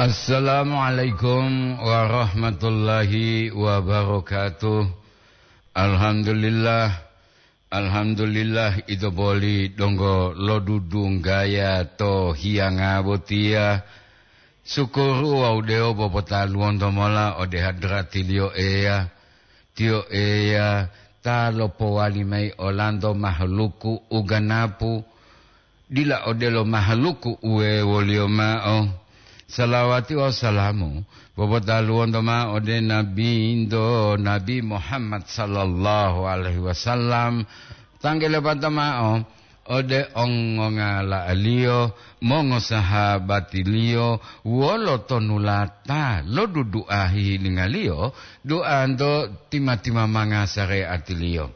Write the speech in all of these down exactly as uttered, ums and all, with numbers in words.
Assalamualaikum warahmatullahi wabarakatuh. Alhamdulillah, alhamdulillah, ito boli donggo lodudunggaya to hiyanga botiya. Sukuru wawu dewo popotaluwonto mola ode hadratiliyo Eya. Tiyo Eya ta lopowali mayi olanto mahaluku u ganapu, dila odelo mahaluku uwewoliyo ma'o. Salawati wawu salamu popotaluwonto ma'o ode Nabinto, Nabi Muhammad sallallahu alaihi wasallam. Tangge lepata ma'o ode ongongala'aliyo, mongosahabatiliyo, wolo tonulata lo dudu'a hihilingaliyo, du'anto tima-timamanga sareatiliyo.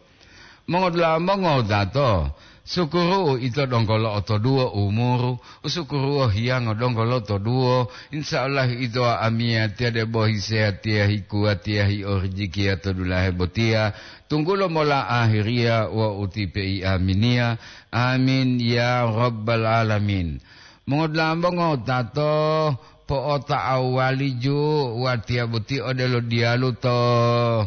Mongodula'a mongowutato, sukuru'u ito donggo lo'otoduwo umuru, usukuru'u hiyango donggo lotoduwo, insya Allah ito amiyatiya debo hisehatiya hikuwatiya hiorijikiya to dulahe botiya, tunggulo mola ahiriya wawu ti peiaminiya. Amin ya rabbal alamin. Mongodula'a mongowutato, po'ota'awuwaliju watiya boti odelo diyalu to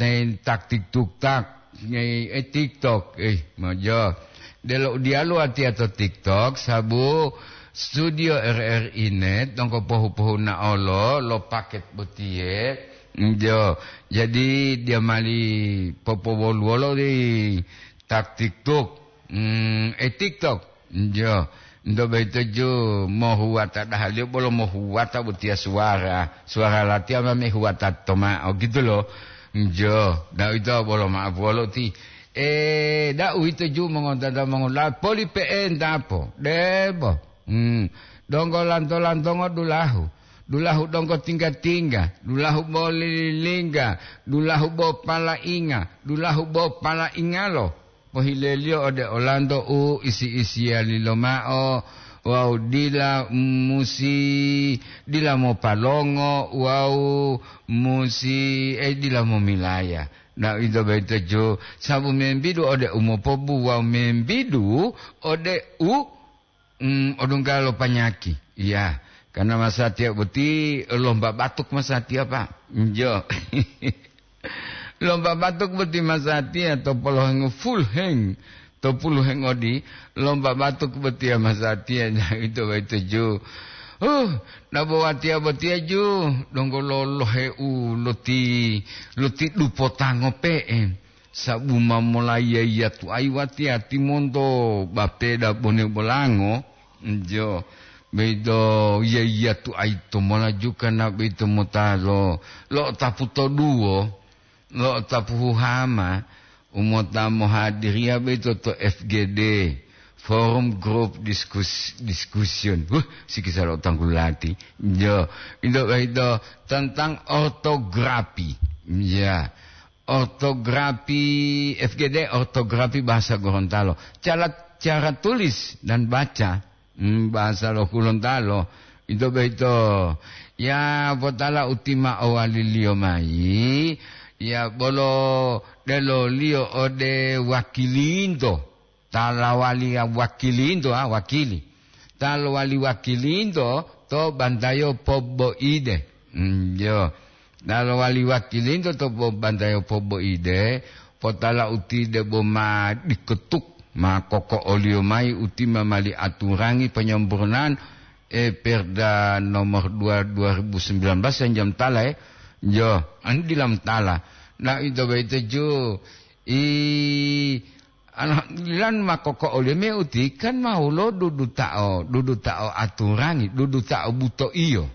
Ten taktik tuktak, eh, eh, TikTok, eh, mojo. Delo diyalu watiya to TikTok, sabu studio R R I net donggo pohu-pohunaolo lo paket botiye. Njo, jadi dia mali popowoluwolo di taktik tuk, mm, eh, TikTok. Njo, nto boyito ju mohuwata dahaliyo bolo mohuwata botiya suwara. Suwara latiya ma mehuwata toma'o gitu lo. Njo, da uwito bolo ma'apuwolo ti. E, da uwito ju mongontata mongola poli pe'enta po. Debo. Hmm. Donggo lanto-lantongo dulahu. Dulahu donggo tingga-tingga. Dulahu bo lililingga. Dulahu bo palainga. Dulahu bo palaingalo. Pohileliyo ode olanto u isi-isiyali lomao wawu dila musi, dila mopalongo wawu musi, eh, dila momilaya. Na uwito boyito ju sabu membidu ode u mopobu wawu membidu ode u Mm, odungga lo panyaki. Iya, karena masatiya boti lomba batuk masatiya, Pak. Njo. Lomba batuk boti masatiya to polohengo full heng, to puluheng odi, lomba batuk botiya masatiya, nah, ito boyito ju. Huh, nabo watiya botiya ju, donggo lolohe u loti, loti dupo tango pe'e. Sabu ma molayi yiyatu'ayi watiya timonto bapeda bone bolango, njo, boyito yiyatu'ayi to mola jukana boyito mota lo, lo'otapu to duwo, lo'otapu huhama, u mota mohadiriya boyito to F G D, Forum Group Diskus-, Discussion. Huh, sikisa lo tanggulati. Njo, ito boyito tentang ortografi. Ya. Ortografi, F G D, ortografi bahasa Gorontalo. Cara, cara tulis dan baca, hmm, bahasa lo Gorontalo. Ito boyito, ya, potala utima owaliliyo mayi, ya, bolo deloliyo ode wakilinto. Ta lowali wakilinto, ah, wakili. Ta lowali wakilinto to bantayo poboide. Mm, jo. Ta lowali wakilinto to po-, bantayo poboide, potala uti debo ma diketuk, ma koko'oliyo mayi uti ma mali aturangi penyempurnaan, eh, Perda nomor dua, dua ribu sembilan belas yang jam tala, eh. Jo, anu dilam tala. Nah, ito boyito ju, i, Alhamdulillah, ma koko'oliyo me uti kan ma wolo duduta'o, duduta'o aturangi, duduta'o buto'iyo.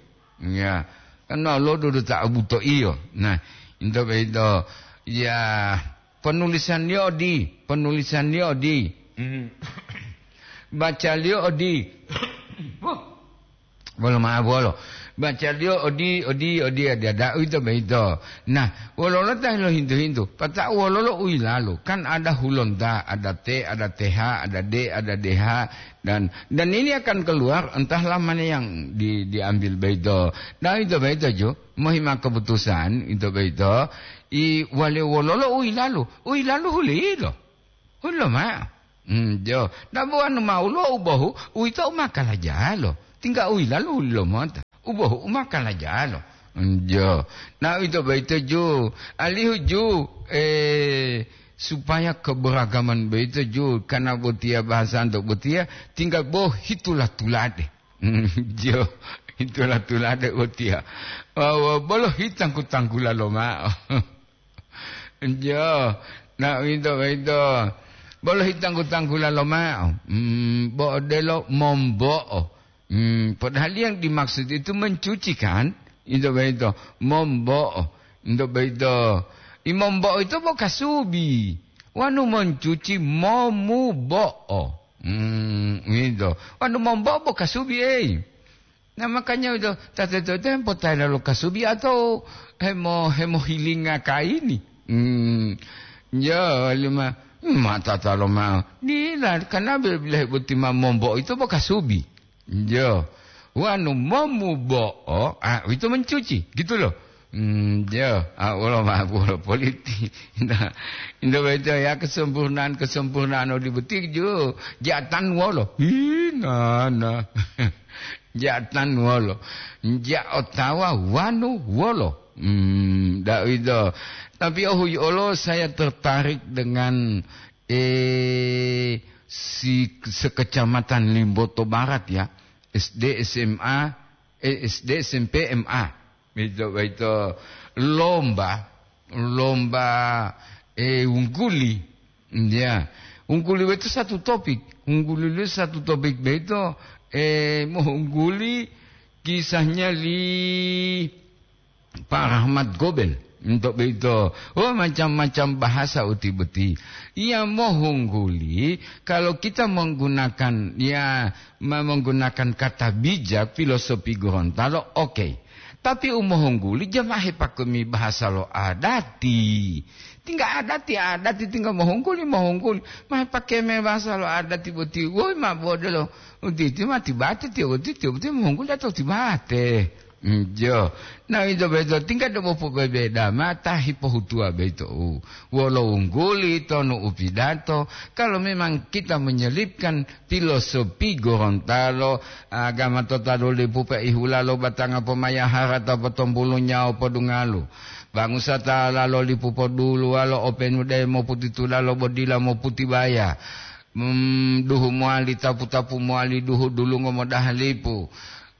Ya, kan ma wolo duduta'o buto'iyo. Nah, into boyito, ya, penulisanliyo odi, penulisanliyo odi. Mhm. Bacaliyo odi. Wah. Bolo ma'o bolo. Bacaliyo odi, odi, odi, adi ada uwito boyito. Nah, wololo ta hilohintu-hintu? Pata'u wololo u yilalu? Kan ada hulonta, ada T, ada T H, ada D, ada D H, dan, dan ini akan keluar entahlah mana yang di, diambil boyito. Nah, uwito boyito ju, mohima keputusan, uwito boyito. I wale wololo u yilalu? U yilalu hulilo. Hulilo ma'o. Hmm, jo. Dabu wanu ma ulo u bohu, uwito u ma kalajalo. Tingga u yilalu hulilo mota. U bohu u ma kalajalo. Jo. Na uwito boyito ju, alihu ju, eh, supaya keberagaman boyito ju, karena botiya bahasanto botiya, tinggal bo hitula tulade. Jo, hitula tulade botiya. Wa-, wa-, bolo hitangku-tangkula lomao. Jo, na uwito boyito. Bolo hitangku-tangkula lomao. Hmm, bo odelo mombo'o. Hmm, padahal yang dimaksud itu mencuci kan? Ito boyito, mombo'o. Ito boyito, i mombo'o ito bo kasubi. Wanu mencuci momubo'o. Hmm, ito. Wanu mombo'o bo kasubi, ei. Nah, makanya ito, tateto ito hempotaela lo kasubi atau hemo-, hemohilinga kaini. Hmm, ya, lima, mata talo ma. Dila, karena bila-bila boti ma mombo'o ito bo kasubi. Jo. Wanu momubo'o, ah, uwito mencuci, gitu loh. Hmm, jo. Ah, wolo ma-, wolo politi. Nah, ito boyito ya kesempurnaan-kesempurnaan odi boti jo. Jatan wolo. Ih, nana. Jatan wolo. Ja otawa wanu wolo. Hmm, da uwito. Tapi ohuyi olo saya tertarik dengan eh, si sekecamatan Limboto Barat ya, S D, S M A, eh, S D, S M P, M A. Itu, itu lomba, lomba, eh, ungguli. Ya, ungguli itu satu topik. Ungguli itu satu topik itu, eh, mau ungguli kisahnya li Pak Rahmat Gobel, untuk begitu. Oh, macam-macam bahasa uti boti. Ia mohungguli, kalau kita menggunakan, ya, me-, menggunakan kata bijak, filosofi Gorontalo, oke. Tapi umohungguli, jamahe pakemi bahasa lo adati. Tinggal adati, adati tinggal mohungguli, mohungguli. Mahe pakeme bahasa lo adati boti. Woi, ma bodelo. Uti, uti mati bate, tiyo uti, tiyo uti mohungguli atau tibate. Njo. Na, ito boyito tingga debo pobebeda mata hipohutuwa boyito u wolo wungguli tonu upidato. Kalau memang kita menyelipkan filosofi Gorontalo, agama tota dolipu pe ihulalo batanga pomayahara ta potombulu nyawo podungalu. Bangusa ta lalo lipu poduluwalo openu de moputitulalo bodila moputibaya. Hmm, duhu mowali tapu-tapu mowali duhu dulungo modaha lipu.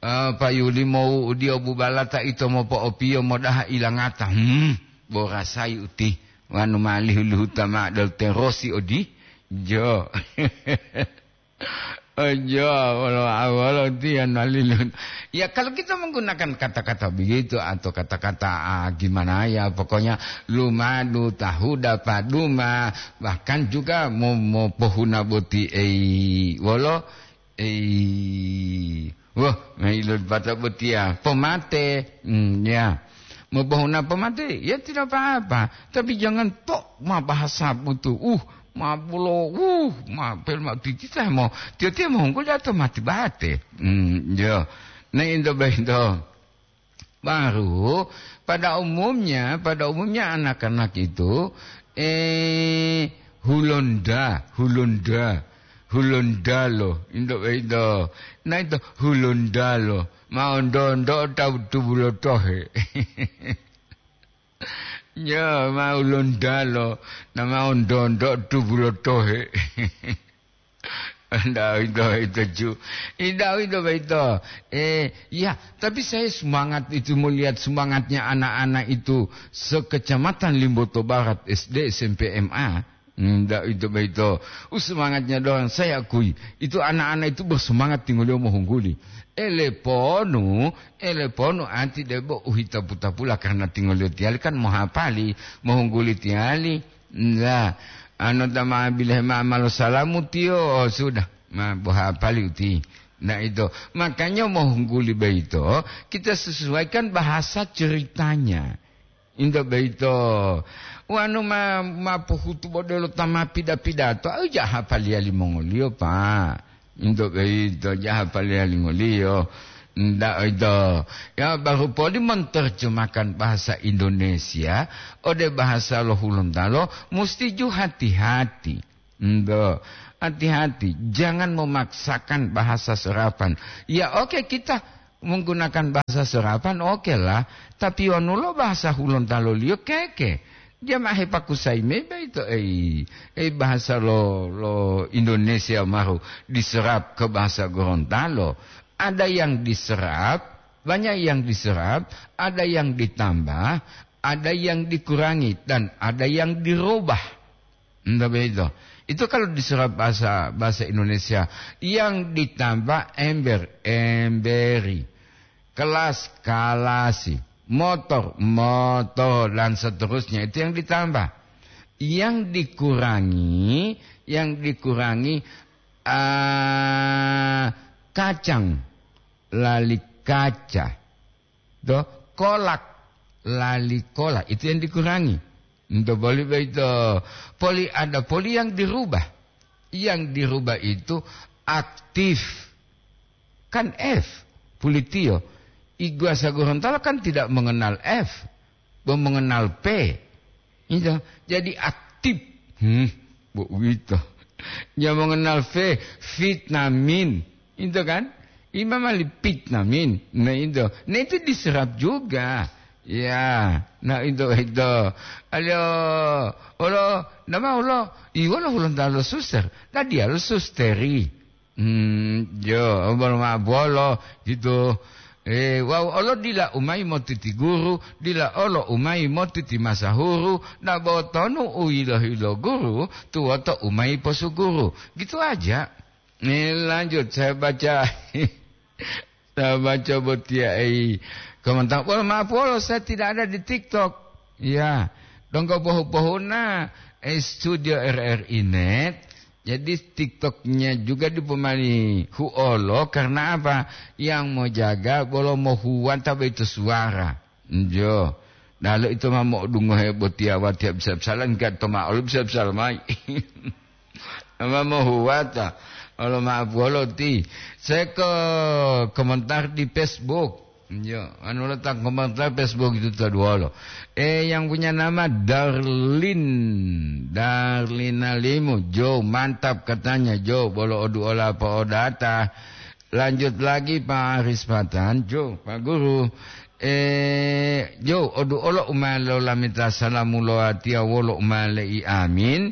Ah, payuli mowu'udiyo bubalata ito mopo'opiyo modaha ilangata. Hmm, borasayi uti. Wanu malihu-lihuta ma'o dol terosi odi. Jo. Ojo, wolo, wolo tiyan malilun. Ya, kalau kita menggunakan kata-kata begitu atau kata-kata, ah, gimana ya, pokoknya lumadu, tahuda, paduma, bahkan juga mo-, mopohuna boti, ei, wolo, ei, wah, mailun pata botiya, pomate, hmm, ya. Mopohuna pomate, ya tidak apa-apa. Tapi jangan tok ma bahasa butu. Uh, ma bulo, uh, ma pel ma titita mo. Tiyo-tiyo mohungguli atau mati bate. Hmm, ya. Nah, itu baik itu. Baru, pada umumnya, pada umumnya anak-anak itu, eh, hulonda, hulonda, hulondalo, indo, indo. Nah, itu hulondalo. Ma ondo-ondo tawu tubulo tohe. Ya, ma hulondalo, na ma ondo-ondo tubulo tohe. Ndak itu, itu ju. Indak itu, itu. Eh, ya, tapi saya semangat itu melihat semangatnya anak-anak itu sekecamatan Limboto Barat, S D, S M P, M A. Ndak itu, itu. Uh, semangatnya dorang, saya akui. Itu anak-anak itu bersemangat tingoliyo mohungguli. Ele ponu, ele ponu anti debo uhitapu-tapula karena tingoliyo tiyali kan mohapali, mohungguli tiyali. Nda, ano ta ma bilehe ma malo salamu tiyo, oh, sudah, ma boha pali uti. Nah, itu. Makanya mohungguli beito, kita sesuaikan bahasa ceritanya. Indo beito. Wanu ma, ma pohutu bodelo ta ma pida-pidato, au jaha paliya limongoliyo, Pak. Untuk beito, jaha paliya lingoliyo. Ndak itu. Ya, baru poli menerjemahkan bahasa Indonesia ode bahasa lo Hulontalo, musti ju hati-hati. Ndo, hati-hati, jangan memaksakan bahasa serapan. Ya, oke, kita menggunakan bahasa serapan, oke lah. Tapi wonu lo bahasa Hulontalo-Liyo keke. Dia ma hepakusayi mayi boyito, ei, ei bahasa lo, lo Indonesia maru diserap ke bahasa Gorontalo. Ada yang diserap, banyak yang diserap, ada yang ditambah, ada yang dikurangi, dan ada yang dirubah. Entah begitu. Itu kalau diserap bahasa, bahasa Indonesia, yang ditambah ember, emberi, kelas, kalasi, motor, motor, dan seterusnya. Itu yang ditambah. Yang dikurangi, yang dikurangi, ah, kacang, lali kaca. Toh, kolak, lali kolak. Itu yang dikurangi. Untuk poli boyito, poli ada poli yang dirubah. Yang dirubah itu aktif. Kan F, pulitiyo. Iguasa Gorontalo kan tidak mengenal F, bo mengenal P. Itu. Jadi aktif. Hmm, bo uwito. Dia mengenal V, vitamin. Itu kan? Imam Ali vitamin. Nah, itu. Nah, itu diserap juga. Ya, nah, itu, itu. Ayo, olo, nama olo? Iwolo Hulontalo suster. Nah, dia lo susteri. Hmm, yo, bolo ma bolo, gitu. Eh, wawu olo dila umayi motiti guru, dila olo umayi motiti masahuru, na botonu u yilo-yilo guru, tuwoto umayi posuguru. Gitu aja. Eh, lanjut, saya baca. Saya baca botiya, ei, komentar. Wah, maaf, wolo, saya tidak ada di TikTok. Ya, donggo pohu-pohuna, eh, studio R R I Net. Jadi, TikToknya juga dipomali huolo. Karena apa? Yang mau jaga, bolo mau huwanta boyito suara. Njo. Dalo ito ma mo'odungohe botiya watiya bisa-bisala, engka to ma olo bisa-bisala mayi. Ma mohuwata. Olo ma'apuwolo ti. Saya ke komentar di Facebook. Njo, anu letak komentar Facebook itu to duwolo. Eh, yang punya nama Darlin. Darlina Limu. Jo, mantap katanya, Jo. Bolo oduola apa odata. Lanjut lagi, Pak Aris Patan. Jo, Pak Guru. Eh, Jo, odu olo umalo lamita salamu lo atiya wolo umale'i amin.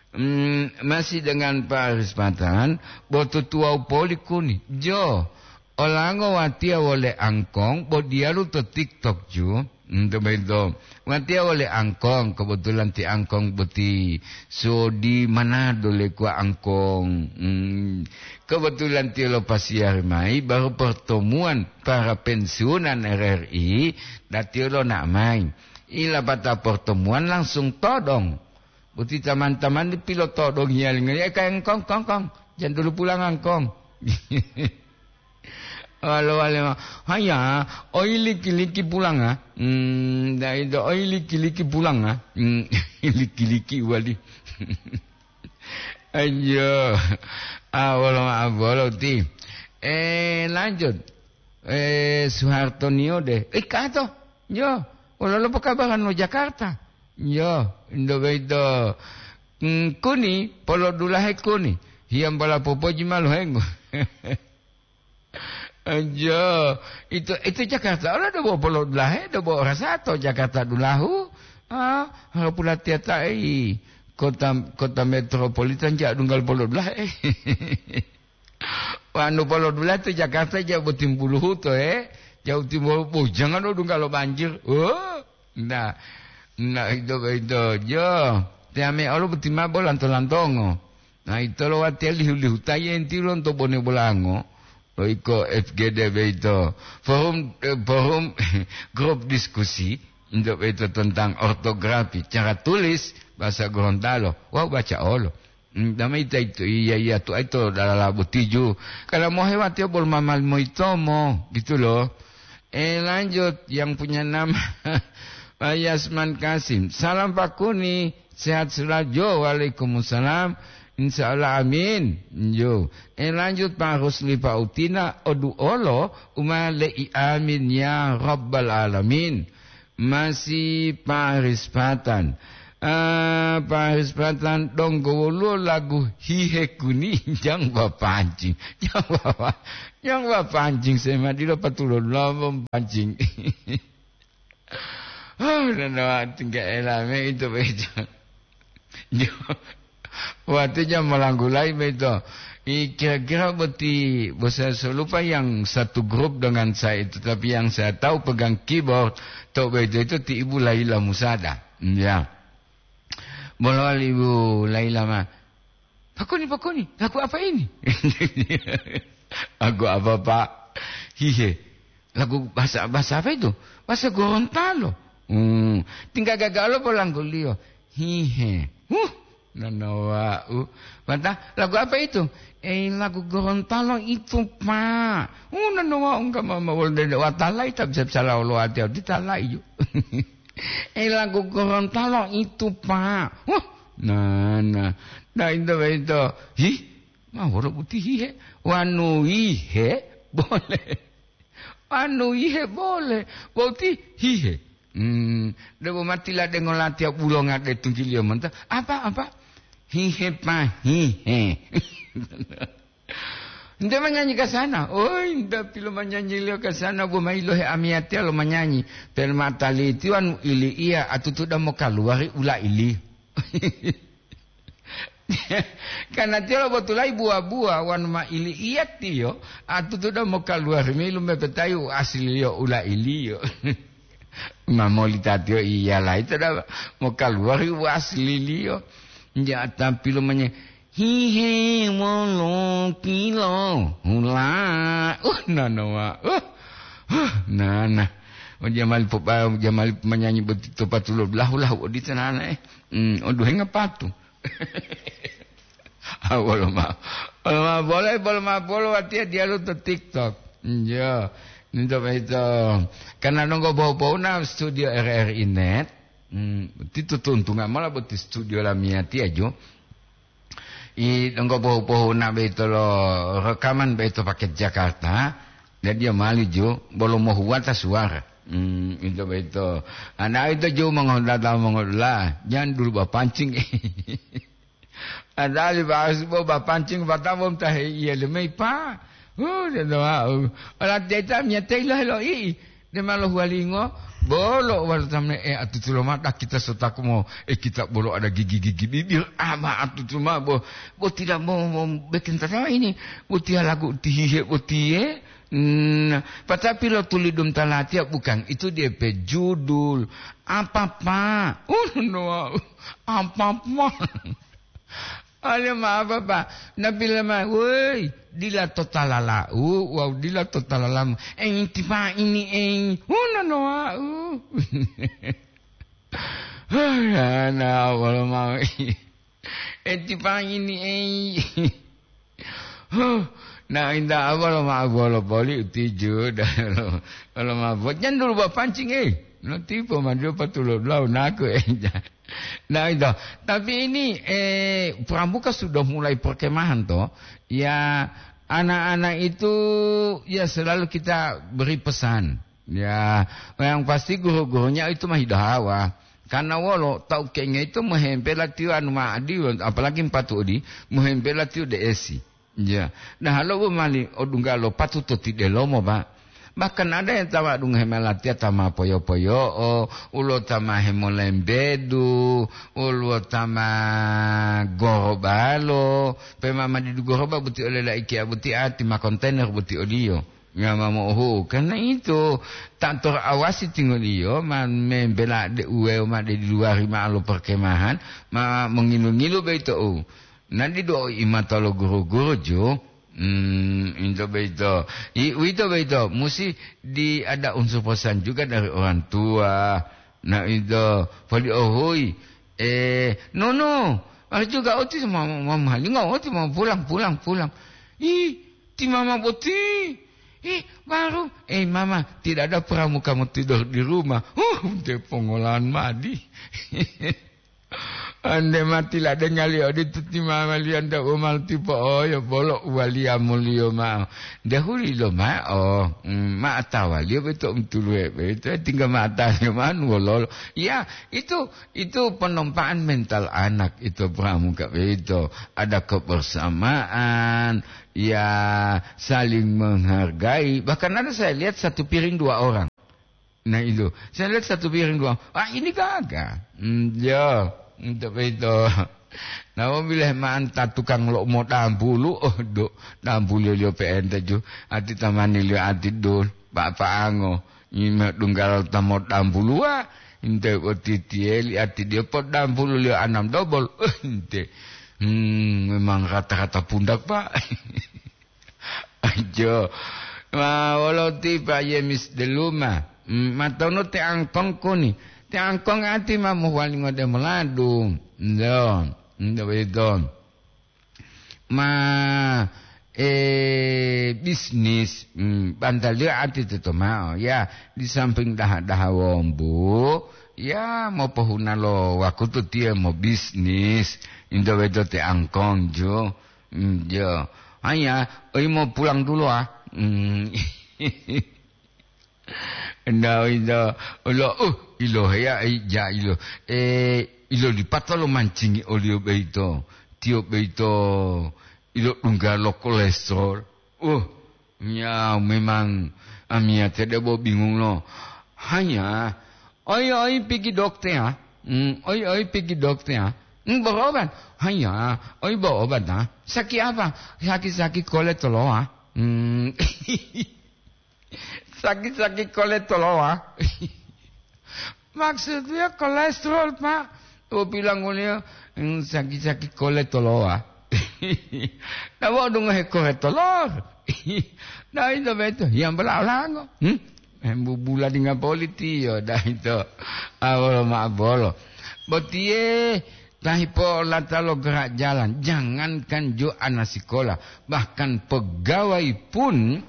Hmm, masih dengan Pak Aris Patan, bo tutuwau poli kuni. Jo, olango watiya wole angkong, bo diyalu to TikTok ju. Hmm, to boyito. Watiya wole angkong, kebetulan ti angkong boti sodi Manado le kuwa angkong. Hmm, kebetulan tiyo lopasiyari mayi baru pertemuan para pensiunan R R I, datiyo lonao mayi. Ilapata pertemuan langsung todong. Boti taman-taman di pilotodong hiyalingo, "Eh, kayang kong, kong, kong. Jangan dulu pulang, angkong." Walo wale ma, "Haya, oi liki-liki pulanga." Hmm, dai do, "Oi liki-liki pulanga." Hmm, liki-liki wali. Ayo. Ah, wolo ma bolo ti. Eh, lanjut. Eh, Soeharto Nio de. Eh, kato. Yo, wolo lo pokabaran lo Jakarta. Yo, indo boyito. Hmm, kuni, polodulahe kuni. Hiyambola popoji ma lohengo. Ajo, itu, itu Jakarta. Olo dobo polodulahe, dobo rasato Jakarta dulahu. Ah, harapulatiya ta'i kota, kota metropolitan ja dunggal polodulahe. Wanu polodulahe to Jakarta ja botimbuluhu to, eh. Jauh timur, bujang anu dunggal lo banjir. Oh, nah, nah, itu, itu, jo. Tiame olo botima bo lanto-lantongo. Nah, itolo watiya lihu-lihu taye enti lonto bone bolango, lo iko F G D boyito. Forum, eh, forum grup diskusi, untuk itu tentang ortografi, cara tulis bahasa Gorontalo. Wau baca olo. Hmm, dama ita itu, iya, iya, tu itu dalala botiju. Kalau mau hebat ya, bol mamal mau itomo, gitu loh. Eh, lanjut, yang punya nama Pak Yasman Kasim. Salam Pak Kuni, sehat selalu. Jo, waalaikumsalam. Insya Allah, amin. Jo. Eh, lanjut Pak Rusli Pak Utina, odu olo, umale'i amin ya Rabbal Alamin. Masih Pak Rispatan. Ah, Paris Patan donggo woluwo lagu hihe kuni, jang bapancing. Jang bapa-, jang bapancing, saya ma dilo patulo lawom pancing. Oh, dan wa tingga elame itu bejo. Jo. Watinya malanggulai beto. I kira-kira boti, bo saya so lupa yang satu grup dengan saya itu, tapi yang saya tahu pegang keyboard, to beto itu ti Ibu Laila Musada. Ya. Bolo wali Ibu Laila ma. "Pakoni, pakoni, lagu apa ini?" "Lagu apa, Pak?" "Hihe." "Lagu bahasa, bahasa apa itu?" "Bahasa Gorontalo." Hmm, tinggal gaga lo polangguliyo. "Hihe." Huh, nanowa'u. Mata, "Lagu apa itu?" "Eh, lagu Gorontalo itu, Pak." Uh, nanowa'u enggak mama wol dede watalai tak bisa-bisa lawo lo ati-ati talai ju. "Eh, lagu Gorontalo itu, Pak." Huh, nah, nah. Nah, itu, itu. Hih, ma wolo boti hihe. Wanu ihe, boleh. Anu ihe bole, boti hihe. Hmm, debo mati ladengo latiya bulonga de tunggiliyo monto. Apa, apa? Hihe pa, hihe. Nte manyanyi ka sana. Oi, nda pilo manyanyi liyo ka sana, bo mayi lohe amiyatiya lo manyanyi. Permata litiwan ili iya atutuda mokaluwari ula ili. Karena tiyo lobotulayi buwa-buwa wonu ma ili iya tiyo, atutuda mokaluwari mayi lumepetayi u asililiyo ula iliyo. Ma molita tiyo iyalayi toda mokaluwari u asililiyo. Nja tampilu manye, "Hihe wolo kilo hula." Uh, nanowa. Uh, huh, nana. Oh, jamali popa-, jamali manyanyi boti to patulo lahu-lahu odito nana, eh. Hmm, oduhenga patu. Ah, bolo ma-, bolo ma-, bolo, bolo ma-, bolo watiya diyalu to TikTok. Iya, ninto boyito. Karena nonggo bohu-bohuna studio R R I Net, hmm, ti tutuntunga mola boti studio lamiyatiya jo. I donggo bohu-bohuna boyito lo rekaman boyito paket Jakarta, jadi ya mali jo, bolo mohuwata suara. Hmm, ito boyito. Ana ito jo mongodata mongodula, jangan dulu bapancing. Adali bahas bo bapancing batabo tahe iya lemei pa. Oh, dia doa. Ola teta mia tei lo helo i. De ma lohuwalingo, bolo walo tamne, eh, atutu lomao dakita sotaku mo, eh, kita bolo ada gigi-gigi bibir, ama atutu ma bo, bo tidak mau, mau bikin tatawa ini, bo tia lagu tihihe bo tie. Nah, patapi lo tulidum talatia bukan, itu dia pe judul. Apa, Pak? Uh, no, apa, Pak? Ale ma apa, Pak? Nabi lama, woi, dila to talalau, wau dila to talalamu. Enti pa ini, eh, una no au. Ana wala mau. Enti pa ini, eh. Huh, na inda apa lo ma wala boli utiju, dan lo, lo ma bo-, jangan dulu bawa pancing, eh. Nanti pemadu patulo blau naku, eh. Nah, itu. Tapi ini, eh, pramuka sudah mulai perkemahan, toh. Ya, anak-anak itu, ya, selalu kita beri pesan. Ya, yang pasti guru-gurunya itu mah hidahawa. Karena wolo, tau kenge itu mohempela tiyo anu ma'adi, apalagi mpatu odi, mohempela tiyo de'esi. Ya, nah, lo bo mali odungga lo patuto ti delomo, Pak. Bahkan ada yang ta ma dungohe malatiya ta ma poyo-poyo'o, ulo ta ma hemolembedu, ulo ta ma gorobalo, pe ma madidu goroba boti ole laiki abuti ati ma kontainer boti oliyo. Nya ma mo'ohu. Karena itu, ta torawasi tingoliyo ma membela de uweo ma de di luwari ma lo perkemahan, ma mongilu-ngilu boyito'u. Nandi do'o imata lo guru-guru ju. Hmm, into boyito. I, uwito boyito, musi di ada unsur pesan juga dari orang tua. Nah, itu, poli ohoi. Eh, no, no. Ada juga oti ma-, ma-, malingo, oti mau pulang, pulang, pulang. Ih, ti mama boti. Ih, baru, eh, mama, tidak ada pramuka mau tidur di rumah. Huh, te pongolahan madi. Ande mati ladengaliyo odito ti mamaliyo anta u ma lotipo'oyo bolo uwaliyamuliyo ma'o. Dehuli loma'o, mm, ma atawaliyo boyito umutuluwe boyito, tingga ma atawaliyo ma'o nuwololo. Ya, itu, itu penampaan mental anak itu, Pramuka, boyito. Ada kebersamaan, ya, saling menghargai. Bahkan ada saya lihat satu piring dua orang. Nah, itu. Saya lihat satu piring doang. Wah, ini gagal. Hmm, ya, untuk itu. Nah, bila ma'anta tukang lo mo dampulu, oh, do, dampulu liyo P N T ju. Ati tamani liyo ati dul, Pak Pango. Ini ma dunggal ta mo dampulu, wah. Inte o titieli ati dia po dampulu liyo anam dobol. Oh, inte. Hmm, memang rata-rata pundak, Pak. Ajo. Ma wolo ti Pa Yemis deluma. Mm, matono te angkong kuni. Te angkong ati ma mohuwalingo de moladu. Ndo. Ndo beto. Ma, eh, bisnis. Mm, bantal dia ati teto ma'o. Ya, di samping daha-daha wombu. Ya, mopohuna lo wakutu tiye mo bisnis. Indo beto te angkong ju. Mm, jo. Hanya, oi mau pulang dulu, ah. Mm. Nda, oi, nda. Olo, uh, ilo heya, ai, ja, ilo. Eh, ilo lipata lo mancingi olio beito. Tio beito, ilo dungga lo kolesterol. Uh, ya, memang amiyate debo bingung lo. Hanya, oi, oi, pigi dokter, ah. Mm, oi, oi, pigi dokter, ah. Mm, berobat. Hanya, oi, berobat, ah. Sakit apa? Sakit-sakit kolesterol, ah. Mm. Sakit-sakit kolesterol, ah. Maksudnya kolesterol, Pak. Oh, bilang oleh, mm, sakit-sakit kolesterol, ah. Nah, mau dengar kolesterol. Nah, itu betul. Yang belau-lango. Hmm? Embubula dengan politi, yo, dah itu. Awal ma bolo. Botie, tahi po lata lo gerak jalan. Jangankan jo anak sekolah, bahkan pegawai pun,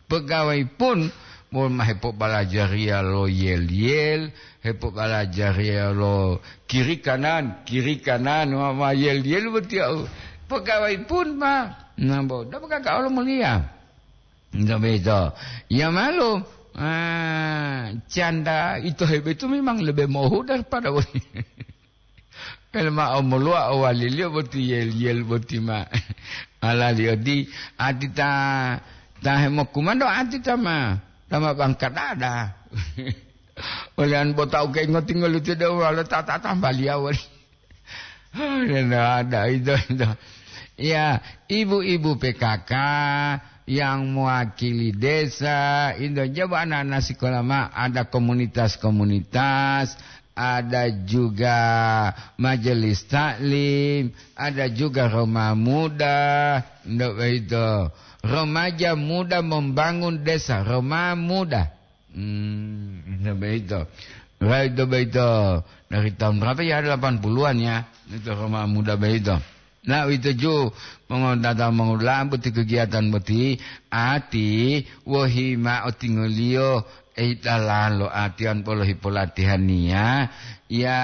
pegawai pun, mo ma hepobalajariya lo yel-yel, hepobalajariya lo kiri kanan, kiri kanan, ma, ma yel-yel botiya. Pegawai pun, ma, nambo, dapat kakak lo mulia. Nggak begitu. Ya malu, ah, canda itu hebat itu memang lebih mohu daripada Ele ma omoluwa o waliliyo boti yel-yel boti ma. Alali odi, ati ta, ta hemokumando ati ta ma, ta ma bangka dada. Ole an bota uke ngoti ngoluti de wala ta, ta tambaliya wali. Ada, ada, itu, itu. Ya, ibu-ibu P K K yang mewakili desa, itu coba anak-anak sekolah ma, ada komunitas-komunitas, ada juga majelis taklim, ada juga Roma Muda, ndak begitu. Remaja Muda Membangun Desa, Roma Muda. Hmm, ndak begitu. Begitu, begitu. Dari tahun berapa ya? Delapan puluhan ya. Itu Roma Muda begitu. Nah, uwito ju, mongodata mongoda'a boti kegiatan boti, ati wohi ma'o tingoliyo, ei dalalo atiyan polohi polatihaniya, ya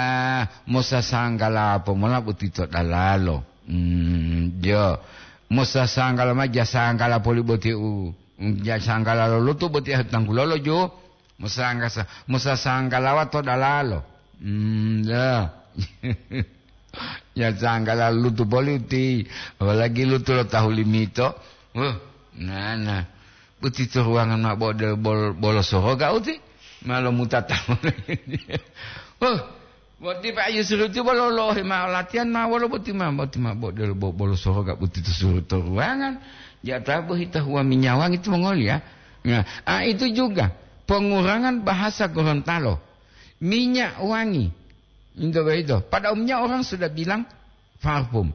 mosasanggala pomola boti to dalalo. Hmm, jo. Mosasanggala ma jasanggala poli boti u, jasanggala lolutu boti ahu tanggulolo ju. Mosangasa-, mosasanggalawa to dalalo. Hmm, ya. Ya, sanggala lutu boli uti, apalagi lutu lo tahu limito. Wah, nana. Uti to ruangan ma bode bol-, bolo soroga uti. Malo mutata. Wah, boti Pak Yusri uti bolo lohe ma latihan ma wolo boti ma, boti ma bode bo-, bolo soroga uti to suru to ruangan. Ya, tabu hita huwa minyawangi itu mongoli ya. Nah, ah, itu juga pengurangan bahasa Gorontalo. Minyak wangi. Itu begitu. Pada umumnya orang sudah bilang parfum.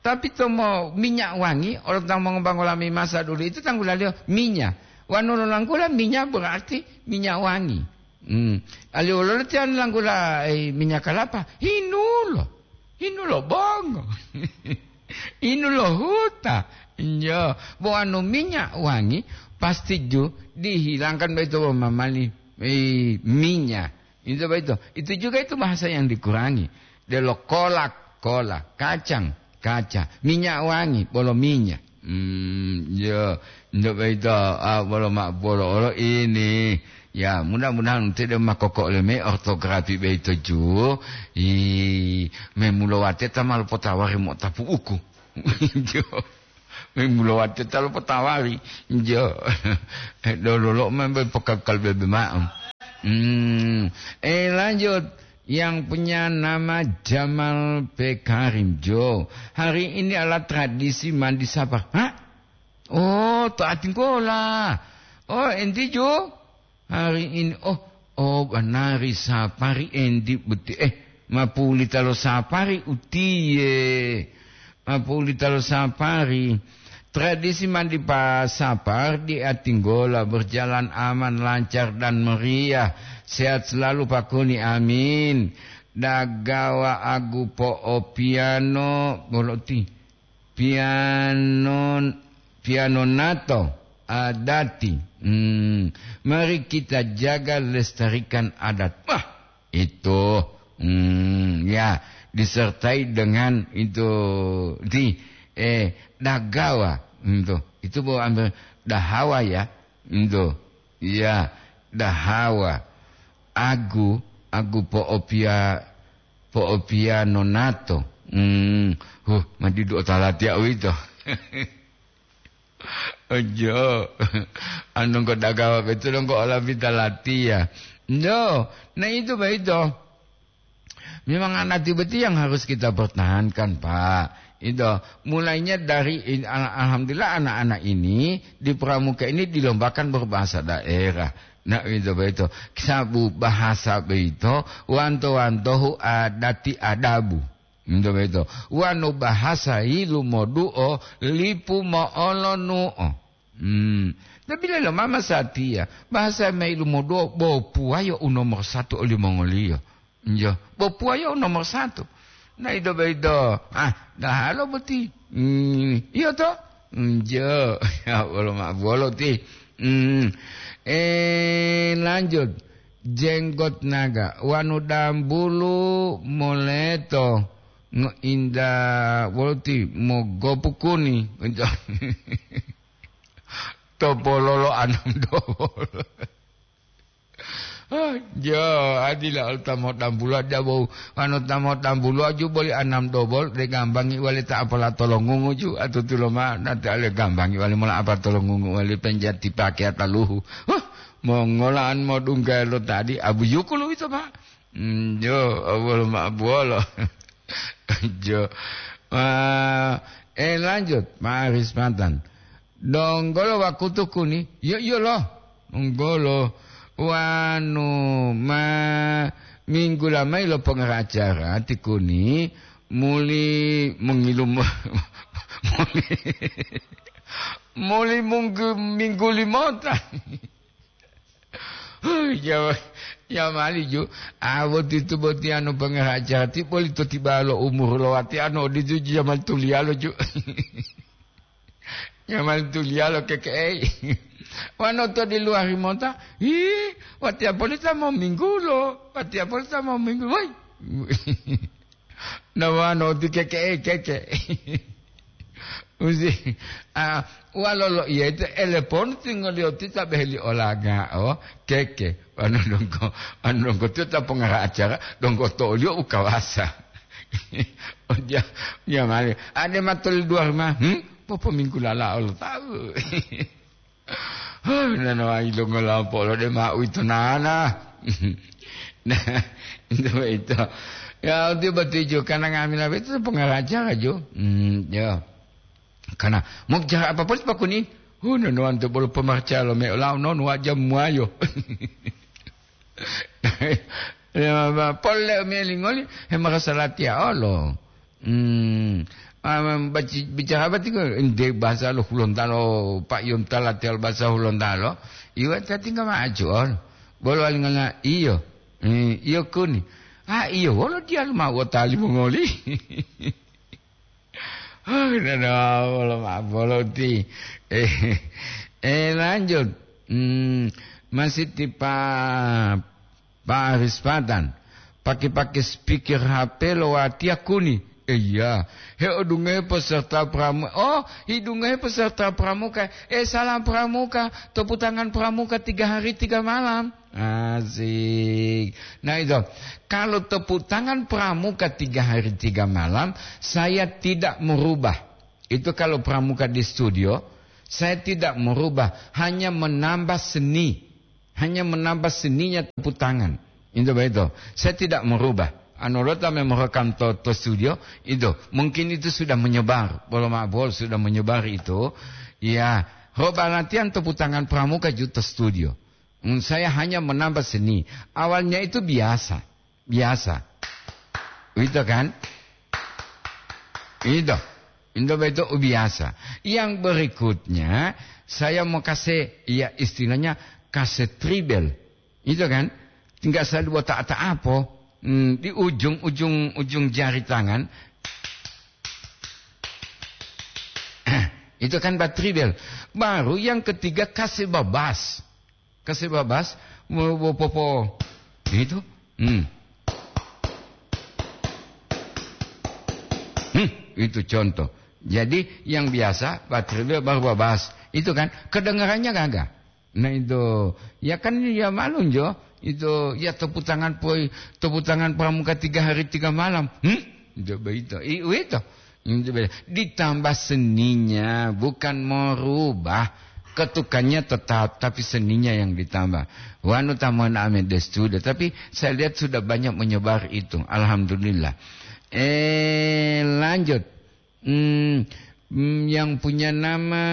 Tapi tomo minyak wangi, orang tang mongobang olami masa dulu itu tanggulaliyo minyak. Wanu lo langgula minyak berarti minyak wangi. Hmm. Ali ololo tian langgula, eh, minyak kelapa. Hinulo. Hinulo bongo. Hinulo huta. Iya. Bo anu minyak wangi, pasti ju dihilangkan begitu mamali, eh, minyak. Itu begitu. Itu juga itu bahasa yang dikurangi. Delo kolak. kola, kacang, kaca, minyak wangi, bolo minyak. Hmm, yo, ndak begitu, ah, bolo mak-, bolo olo ini. Ya, mudah-mudahan tidak makoko oleh me ortografi begitu ju. Ih, memulawate ta malu potawari mo tapu uku. Jo. Memulawate ta lo potawari. Jo. Eh, dolo lo membe pokal bebe ma'am. Hmm, eh, lanjut. Yang punya nama Jamal P. Karim, Jo. Hari ini adalah tradisi mandi sapar. Hah? Oh, to Atinggola. Oh, enti, Jo? Hari ini, oh, oh, banari sapari enti boti. Eh, mapulita lo sapari utiye. Mapulita lo sapari. Tradisi mandi pa sapar di Atinggola berjalan aman, lancar, dan meriah. Sehat selalu, Pak Kuni. Amin. Dagawa agu po'opiano, boloti. Piano, piano nato adati. Hmm. Mari kita jaga, lestarikan adat. Wah, itu. Hmm, ya, disertai dengan itu di, eh, dagawa. Itu. Itu bawa ambil dahawa ya. Itu. Ya, dahawa. Agu, agu po'opia-, po'opiano nato. Hmm, huh, madidu otalatiya uwito. Ojo. Anu ko dagawa betulo ko ola pita latiya. No, nah itu begitu. Memang anak boti yang harus kita pertahankan, Pak. Itu mulainya dari in-, al-, alhamdulillah anak-anak ini di Pramuka ini dilombakan berbahasa daerah. Nah, itu begitu. Sabu bahasa begitu, wanto-wantohu adati adabu. Nto boyito. Wonu bahasa yilumoduo lipu mo'olonuo. Hmm. Tapi lelo mama satiya, bahasa ma yilumoduo bopuwayo u nomor satu olimongoliyo. Njo, bopuwayo u nomor satu. Na ido boyito, ah, dahalo boti. Hmm, iyo to? Njo, ya Allah, ma bolo ti. Hmm. Eh, lanjut. Jenggot naga, wanu dambulu moleto ngoinda woluti mogopu kuni. To pololo anam dobol. Oh, jo, adila ol tamo dambulu aja bau. Wanu tamo dambulu aju boli anam dobol, de gambangi wali ta apala tolongungu ju, atutulo ma, nanti ale gambangi wali mola apa tolongungu wali penjati pakai ataluhu. Huh, Mongolaan modungga lo tadi, abuyuku lo ito, Pak. Hmm, yo, wolo ma-, wolo. Jo. Ah, eh, lanjut, Pak Aris Pantan. Donggolo wakutu kuni, yo, iyo lo. Donggolo. Wanu ma minggu lamai lo pengaracara ti kuni, muli mengilum-, muli, muli munggu-, minggu limota. Huh, ya, ya mali ju. Ah, boti tu boti anu pengaraja ti boli to tiba lo umur lo wati anu di ju jamal tuliyalo ju. Jamal tuliyalo keke'e. Wano to di luar mota. Hi, wati apolita mau minggu lo. Wati apolita mau minggu. Woi. Nawano ti keke'e keke. Usi, ah, walolo iya itu elepon tingoliyo ti ta beheli olaga'o, keke. Anu dongko, anu dongko ti ta pongara acara, dongko to'oliyo u kawasa. Oja, iya mali. Ade matol dua rumah, hmm? Popo minggu lala Allah tahu. Huh, nanawayi longo lampo lo de ma uwito nana. Nah, itu, itu. Ya, untuk betuju, karena ngambil apa itu pengaraja aja. Hmm, ya. Karena mau bicara apa pun pakuni. Huh, nanawan tu bolo pemarca lo me lau non wajah muayo. Ya, ma-, pole melingoli, he marasa latiya olo. Hmm. Ah, baci-, bicara apa tigo? Ente bahasa lo Hulontalo, Pak Yonta latiya lo bahasa Hulontalo. Iwa ta tinggal maju olo. Bolo alingana iyo. Hmm, iyo kuni. Ah, iyo, wolo dia lu mau tali mongoli. Oh, dada, bolo ma-, bolo ti. Eh, eh, lanjut. Hmm, masih tipa Pak Aris Patan. Pake-pake speaker H P lo watiya kuni. Iya, he odungohe peserta pramu-, oh, hidungohe peserta pramuka. Eh, salam pramuka, tepuk tangan pramuka tiga hari tiga malam. Asik. Nah, itu. Kalau tepuk tangan pramuka tiga hari tiga malam, saya tidak merubah. Itu kalau pramuka di studio, saya tidak merubah, hanya menambah seni. Hanya menambah seninya tepuk tangan. Itu begitu. Saya tidak merubah. Anu, rota memang rekam to, to studio, itu. Mungkin itu sudah menyebar. Bolo ma'o bolo sudah menyebar itu. Ya, roba latihan tepuk tangan pramuka ju to studio. Hmm, saya hanya menambah seni. Awalnya itu biasa. Biasa. Itu kan? Itu. Itu begitu biasa. Yang berikutnya, saya mau kasih, ya, istilahnya kasih tribel. Itu kan? Tinggal saya buat tak apa. Hmm, di ujung, ujung, ujung jari tangan. Itu kan bat tribel. Baru yang ketiga kasih babas. Kasih babas, mo-, bo-, popo. Itu. Hmm. Hmm, itu contoh. Jadi, yang biasa, bat tribel baru babas. Itu kan, kedengarannya gagah. Nah, itu. Ya kan, ya maklum, jo. Itu, ya tepuk tangan poi, tepuk tangan pramuka tiga hari tiga malam. Hmm? Itu begitu. I-, itu. Ditambah seninya, bukan merubah. Ketukannya tetap, tapi seninya yang ditambah. Wanu tamon ame destuda, tapi saya lihat sudah banyak menyebar itu. Alhamdulillah. Eh, lanjut. Hmm, hmm, yang punya nama,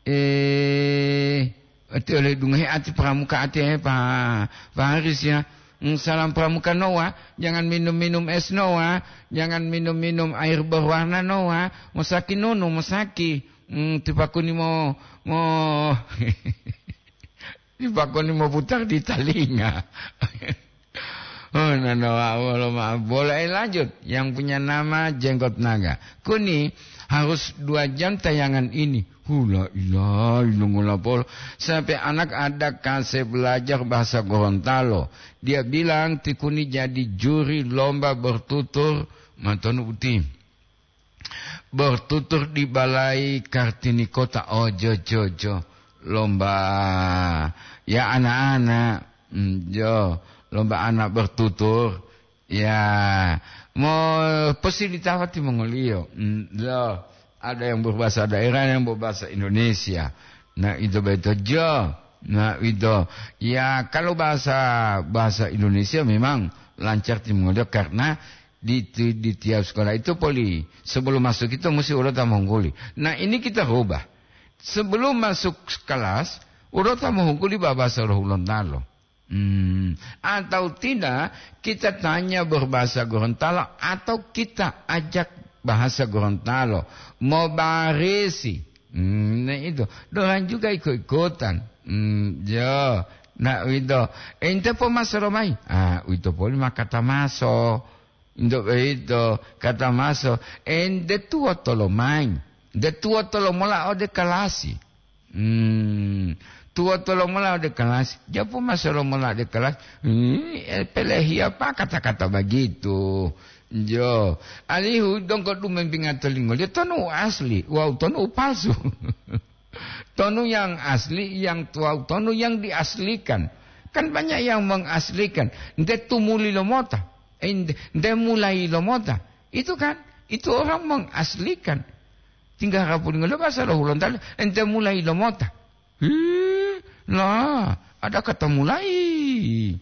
eh, ati oleh dungohe ati pramuka ati, eh, Pak, Pak Haris, ya. Hmm, salam pramuka Noah, jangan minum-minum es Noah, jangan minum-minum air berwarna Noah, mosaki nunu, mosaki. Hmm, tipakuni mo, mo, tipakuni mo putar di talinga. Oh, nana, wolo maaf. Boleh lanjut. Yang punya nama Jenggot Naga. Kuni harus dua jam tayangan ini. Hula ilah, ilungola polo. Sampai anak ada kasih belajar bahasa Gorontalo. Dia bilang, "Tikuni jadi juri lomba bertutur." Matonu uti. Bertutur di Balai Kartini Kota. Oh, jo, jo, jo. Lomba, ya, anak-anak. Hmm, jo. Lomba anak bertutur. Ya, mo posilitawati mongoliyo. Hmm, jo. Ada yang berbahasa daerah, yang berbahasa Indonesia. Nah, itu betul, jo. Nah, itu. Ya, kalau bahasa, bahasa Indonesia memang lancar timongoliyo karena di, di, di tiap sekolah itu poli, sebelum masuk itu mesti urota mongguli. Nah, ini kita rubah. Sebelum masuk kelas, urota mongguli bahasa Rohulontalo. Hmm, atau tidak, kita tanya berbahasa Gorontalo atau kita ajak bahasa Gorontalo. Mau barisi. Hmm, nah itu. Dorang juga ikut-ikutan. Hmm, ya. Nah, itu. Ente po masoro mai. Ah, itu poli makata maso. Untuk itu, kata maso, ente tuwo tolomayi, de tuwo tolomola ode kalasi. Hmm, tuwo tolomola ode kalasi. Japu maso lomola ode kalasi. Hmm, eh, pelehiya pa kata-kata begitu. Jo, alihu donggo dumempinga tolingo, dia tonu asli, wau tonu palsu. Tonu yang asli, yang tuwau tonu yang diaslikan. Kan banyak yang mengaslikan. Nte tumuli lomota. Eh, nte, nte mulai lomota. Itu kan, itu orang mengaslikan. Tinggal rapulingolo bahasa lo Hulontalo, ente mulai lomota. Ih, lah, ada kata mulai.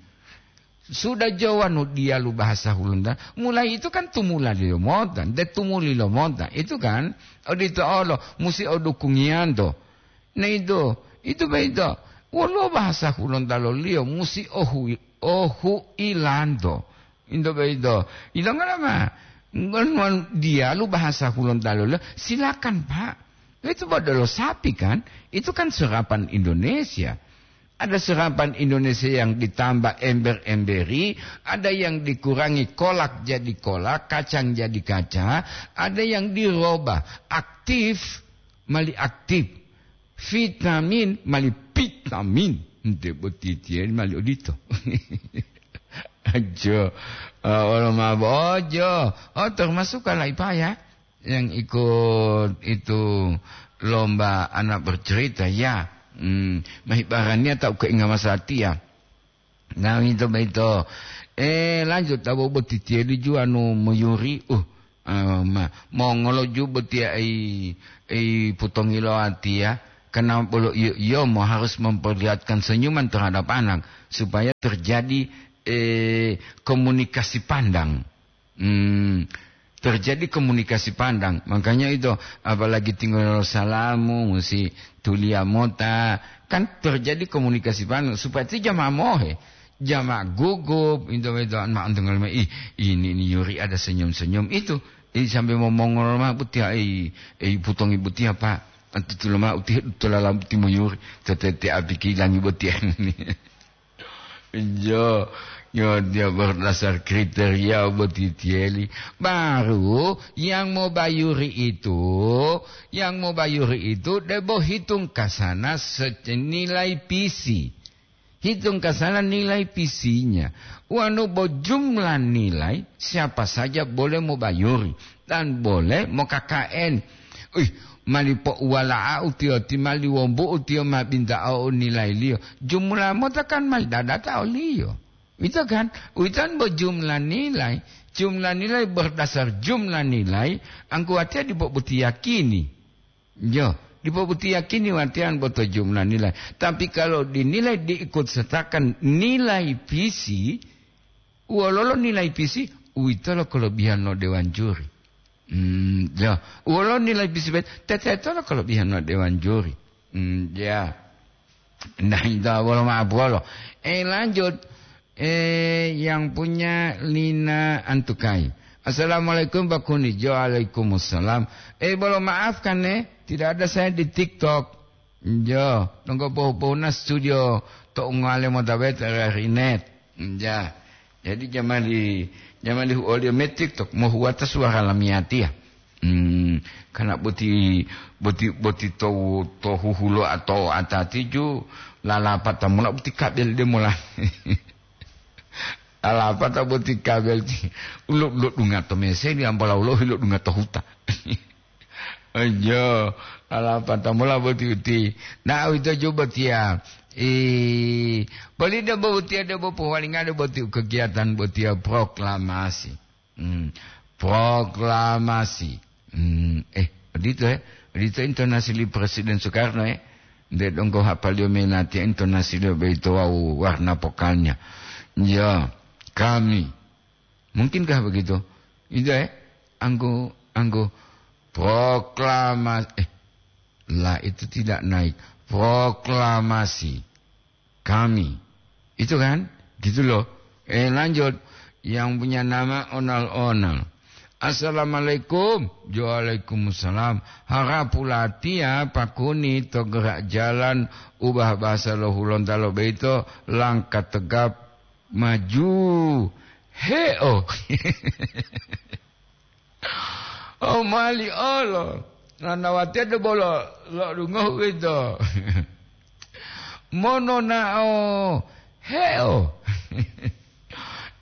Sudah jowanu diyalu bahasa Hulunda. Mulai itu kan tumula lilomota, nte tumuli lomota. Itu kan, odito olo, musi odukungiyanto. Nah itu, itu beito. Woluwo bahasa Hulunda loliyo, musi ohu, ohu ilanto. Into beito. Ilonga lama. Ngon, ngon diyalu bahasa Hulunda loliyo, silakan, Pak. Itu bodolo sapi kan? Itu kan serapan Indonesia. Ada serapan Indonesia yang ditambah ember-emberi, ada yang dikurangi kolak jadi kolak, kacang jadi kaca, ada yang dirubah aktif, mali aktif, vitamin, mali vitamin. Nte boti tiyen mali odito. Ajo. Ah, wolo mabo. Ojo. Oh, termasuk kalau Ipa ya, yang ikut itu lomba anak bercerita, ya. Hmm, mahibarania tak keingat masa hati ya. Nah, itu begitu. Eh, lanjut, tahu boti tieli ju anu moyuri. Uh, ah, ma, mongolo ju boti ai, ai putongilo hati ya. Karena bolo iyo, iyo mo harus memperlihatkan senyuman terhadap anak supaya terjadi, eh, komunikasi pandang. Hmm, terjadi komunikasi pandang. Makanya itu, apalagi tinggal salamu, mesti tulia mota. Kan terjadi komunikasi pandang. Supaya itu jamaah mohe. Jamaah gugup, itu, itu, ma-, ih, ini, ini Yuri ada senyum-senyum. Itu, ini sampai mau mongol mah butiha, eh, eh, putongi butiha, Pak. Antu tulama utiha, tulala buti mo Yuri. Tete, te api kilangi butiha. Iyo, yo, dia berdasar kriteria boti tieli. Baru yang mau bayuri itu, yang mau bayuri itu debo hitung kasana se-, nilai pisi. Hitung kasana nilai pisinya. Wanu bo jumlah nilai, siapa saja boleh mau bayuri dan boleh mau K K N. Ih, mali pouwala'au tiyo, ti mali wombu'u tiyo ma binta'o u nilailiyo. Jumlah mota kan mali dadata oliyo. Ito kan, uwitan bo jumlah nilai. Jumlah nilai berdasar jumlah nilai, angkuwatiya dipo boti yakini. Yo, dipo boti yakini watiyan boto jumlah nilai. Tapi kalau dinilai diikut sertakan nilai visi, wololo nilai visi, uwitolo kelebihan lo dewan juri. Hmm, ya. Wolo nilai bisibat, tetetolo kelebihan lo dewan juri. Hmm, ya. Nah, itu wolo maaf wolo. Eh, lanjut. Eh, yang punya Lina Antukai. Assalamualaikum, Pak Kuni. Waalaikumsalam. Eh, bolo maaf kan, eh? Tidak ada saya di TikTok. Jo, donggo pohu-pohuna studio to ungale mota bete rinet. Ja. Jadi jamali, jamali huolio metik to mohuwata suara lamiyatiya. Hmm, karena boti, boti, boti to, to huhulo atau atati ju lalapata mula boti kabel de mula. Lalapata boti kabel ti. Ulo, ulo dunga to mese di ambola ulo hilo dunga to huta. Ojo, ala pata mula boti uti. Na uwito ju botiya. I, boli debo botiya debo powalingade boti kegiatan botiya proklamasi. Hmm. Proklamasi. Hmm. Eh, odito, eh. Odito intonasi li Presiden Soekarno, eh. Nde donggo hapaliyo menatiya intonasi liyo boyito wawu warna pokalnya. Ya, kami. Mungkinkah begitu? Itu, eh, anggo, anggo proklamasi, eh, lah itu tidak naik. Proklamasi kami. Itu kan? Gitu loh. Eh, lanjut. Yang punya nama Onal-Onal. Assalamualaikum. Waalaikumsalam. Harap pulatiya pakuni to gerak jalan ubah bahasa lo Hulontalo boyito langkah tegap maju. Heo. Oh, mali olo. Nanawatiya debolo lo'odungohu ito. Mononao heo.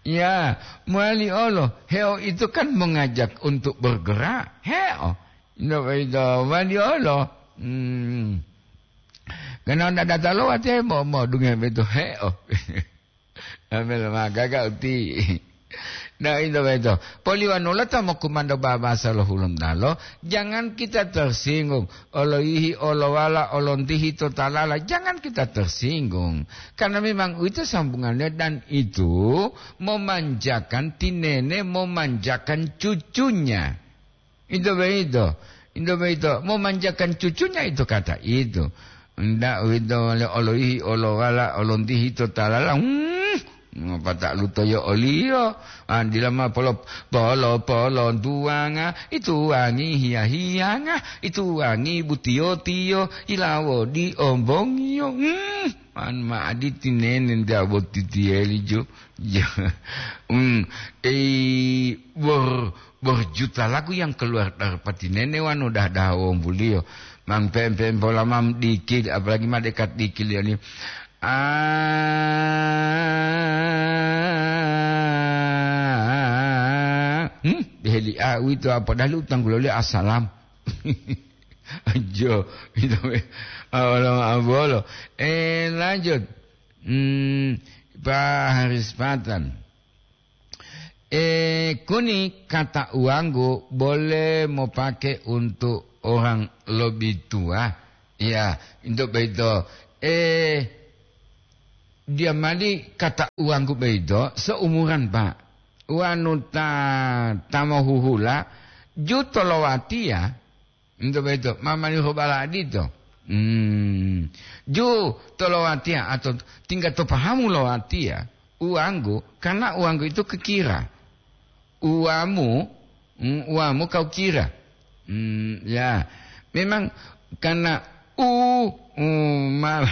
Ya, mali olo. Heo itu kan mengajak untuk bergerak. Heo. Ito, ito, mali olo. Hmm. Karena ndak datalo watiya mo, mo dunge beto heo. Amel magaga uti. Nah, itu beto. Poliwanula ta mokumando babasa lo Hulontalo, jangan kita tersinggung. Oloihi, olowala, olontihi to talala, jangan kita tersinggung. Karena memang itu sambungannya dan itu memanjakan tinene, memanjakan cucunya. Itu begitu. Itu begitu. Memanjakan cucunya itu kata itu. Ndak uwito le oloihi, olowala, olontihi to talala. Hmm, ngopata lutoyo oliyo. Andila ma polo, polo, polo, tuwanga, itu wangi hiya-hiyanga, itu wangi butiyo-tiyo, ilawo di ombongiyo. Hmm, man ma aditi nene nda boti tiyeli jo. Ya. Hmm, eh, ber-, berjuta lagu yang keluar dari pati nene wanu dah-dah wombuliyo. Mang pem-pem pola mam dikit, apalagi ma dekat dikit ya ni. Ah, Hmm, deheli a uwito a, padahal u tangguloliyo assalam. Ajo, itu, ah, wala ma'abolo. Eh, lanjut. Hmm, Pak Haris Patan. Eh, kuni kata uanggu boleh mopake untuk orang lebih tua. Ya, untuk begitu. Eh, dia mali kata uanggu begitu seumuran, Pak. Wanu ta, ta mohuhula, ju tolowatiya, ento boyito, mamani hobala adito. Hmm. Ju tolowatiya atau tingga to pahamu lowatiya, uwanggu, karena uwanggu itu kekira. Uwamu, hmm, uwamu kau kira. Hmm, ya. Memang karena u, u, ma-,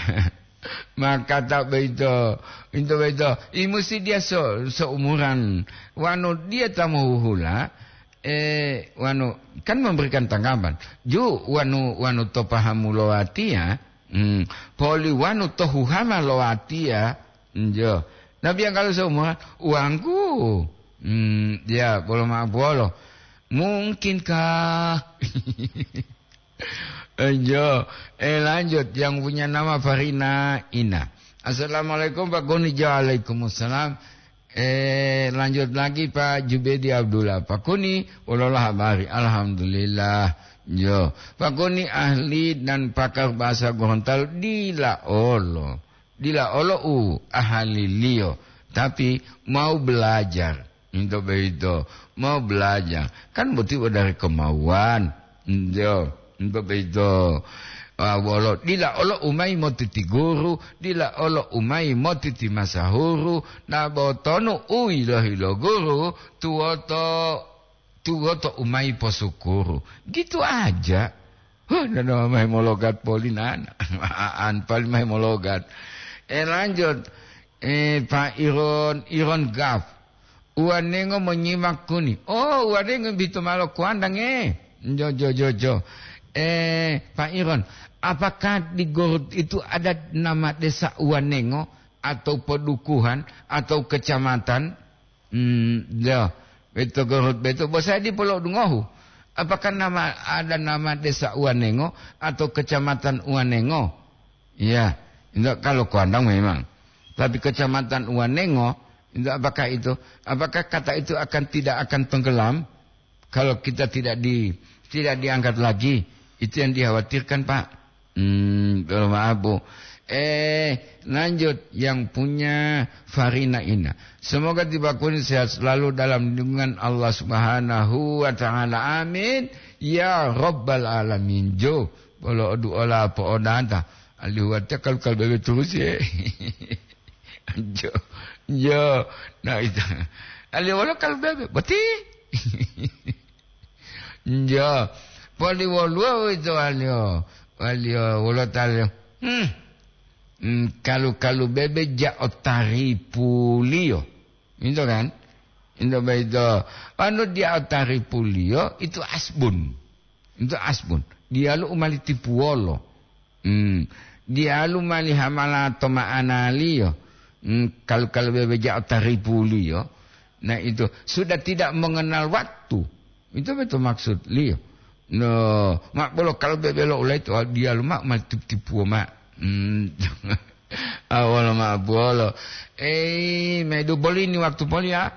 maka ta boyito, ento boyito, i musi dia so-, seumuran. Wanu dia ta mohuhula, eh, wanu kan memberikan tanggapan. Ju wanu, wanu to pahamu lowatiya, hmm, poli wanu to huhama lowatiya, njo. Nabi yang kalau seumuran, uwangku. Hmm, ya, bolo ma'apuwolo. Mungkinkah? Enjo, eh, lanjut, yang punya nama Farina Ina. Assalamualaikum, Pak Kuni. Waalaikumsalam. Eh, lanjut lagi, Pak Jubedi Abdullah. Pak Kuni, wolola habari? Alhamdulillah. Yo, Pak Kuni ahli dan pakar bahasa Gorontalo dila olo. Dila olo u ahaliliyo, tapi mau belajar. Ento boyito, mau belajar. Kan boti bo dari kemauan. Ento, ento boyito. Ah, wolo, dila olo umayi motiti guru, dila olo umayi motiti masahuru, na botonu u yilohi lo guru, tuwoto, tuwoto umayi posukuru. Gitu aja. Huh, nana mahe mologat poli nana. Aan pali mahe mologat. Eh, lanjut. Eh, Pak Iron, Iron Gaf. Uwanengo monyimak kuni. Oh, uwanengo bito malo kuandang, eh. Jo, jo, jo, jo. Eh, Pak Iron, apakah di Gorut itu ada nama desa Uwanengo atau pedukuhan atau kecamatan? Hmm, ya. Beto Gorut beto. Bosadi polo dungohu. Apakah nama, ada nama desa Uwanengo atau kecamatan Uwanengo? Iya. Enggak, kalau kuandang memang. Tapi kecamatan Uwanengo, enggak, apakah itu? Apakah kata itu akan, tidak akan tenggelam? Kalau kita tidak di-, tidak diangkat lagi, itu yang dikhawatirkan, Pak. Hmm, mohon maaf, Bu. Eh, lanjut yang punya Farina Ina. Semoga tiba kuni sehat selalu dalam lindungan Allah Subhanahu wa Ta'ala. Amin. Ya Rabbal Alamin. Jo, bolo odu ola po odanta. Alihu watiya kalu-kalu bebe terus, ya. Jo, jo. Nah, itu. Alihu wala kalu bebe. Boti. Jo. Poli woluwo wito waliyo. Waliyo wolo taliyo. Hmm. Hmm, kalu-kalu bebe ja otaripuliyo. Itu kan? Itu begitu. Anu dia otaripuliyo, itu asbun. Itu asbun. Diyalu u mali tipuwolo. Hmm. Diyalu mali hamala to ma'analiyo. Hmm, kalu-kalu bebe ja otaripuliyo. Nah, itu sudah tidak mengenal waktu. Itu betul maksudliyo. No, mak bolo kalu bebe lo ulai to diyalu mak mali tip-, tipuwo mak. Hmm. Awolo mak bolo. Eh, medu bolini waktu poli ya.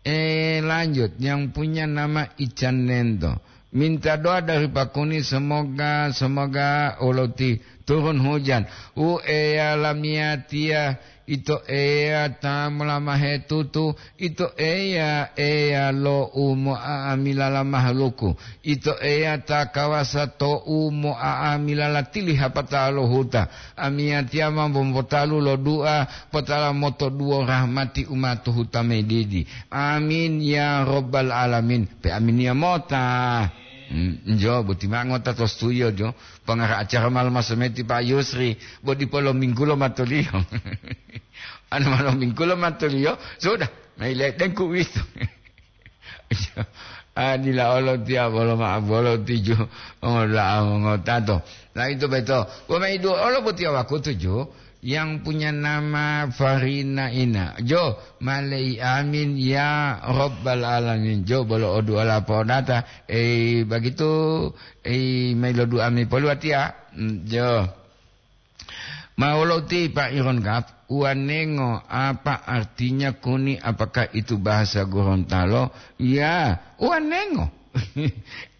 Eh, lanjut. Yang punya nama Ican Nento. Minta doa dari Pak Kuni, semoga, semoga oloti turun hujan. U Eya lamiyatiya, ito Eya ta molamahe tutu, ito Eya, Eya lo u mo'a'amilala mahaluku, ito Eya ta kawasa to u mo'a'amilala tili hapata lo huta. Amiyatiya mambo mopotalu lo dua, potala motoduwo rahmati u ma to huta medidi. Amin ya Rabbal Alamin. Pe aminiya mota. Hmm, njo, boti ma'o ngota to studio, jo. Pongara acara malu masometi Pak Yusri, bo dipo lo minggulo matoliyo. Anu malo minggulo matoliyo, sudah, maile dengku witu. Ah, dila olo tiya bolo ma-, bolo tiju, oh, la, ngotato. Nah, itu beto. Bo maidu olo botiya wakutu, jo. yang punya nama Farina Ina. Jo, malei amin ya Rabbal Alamin. Jo, bolo o du'a lapodata. Eh, begitu, eh, mailo du'a mi poluwatiya. Mm, jo. Mawolo ti Pak Iron Kap, uwanengo, apa artinya kuni? Apakah itu bahasa Gorontalo? Ya, uwanengo.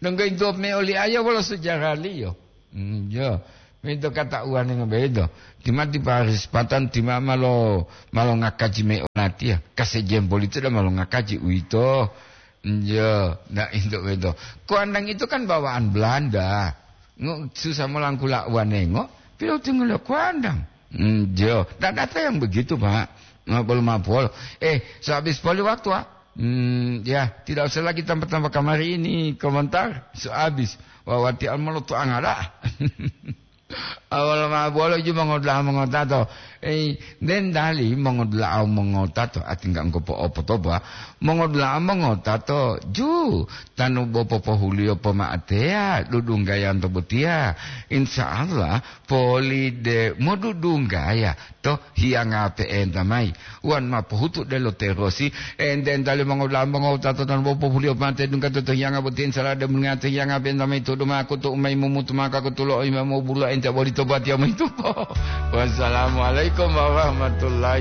Donggo itu me oli ayo wolo sejarah liyo. Hmm, jo. Mento kata uwanengo bedo. Timati Paris Patan tima malo, malo ngakaji me olatiya. Kase jempol itu dah malo ngakaji uito. Hmm, jo. Nah, itu bedo. Kuandang itu kan bawaan Belanda. Ngo, susah melangkula uwanengo. Pilo tinggal kuandang. Hmm, jo. Tidak ada yang begitu, Pak. Nggak perlu mapol. Eh, sehabis poli waktu, ah. Hmm, ya, tidak usah lagi tambah-tambah kamari ini komentar. So habis. Wawati almoloto angada. Awal ma bolo ju mongodula'a mongotato. Eh, den dali mongodula'a mongotato, atingga engko po'opotoba. Mongodula'a mongotato, ju, tanu bo popohuliyo poma'ateya, dudunggayanto botiya. Insya Allah, poli de modudunggaya, to hiyanga pe'enta mayi. Wan ma pohutu delo terosi, enten tali mongodula'a mongowutato tan bo pohuliyo pate dungga to hiyanga boti, insya Allah de mengate hiyanga pe'enta mayi to duma kutu umai mumutu maka kutulo imamo bulu ente boli to batiya mayi tupo. Wassalamualaikum warahmatullahi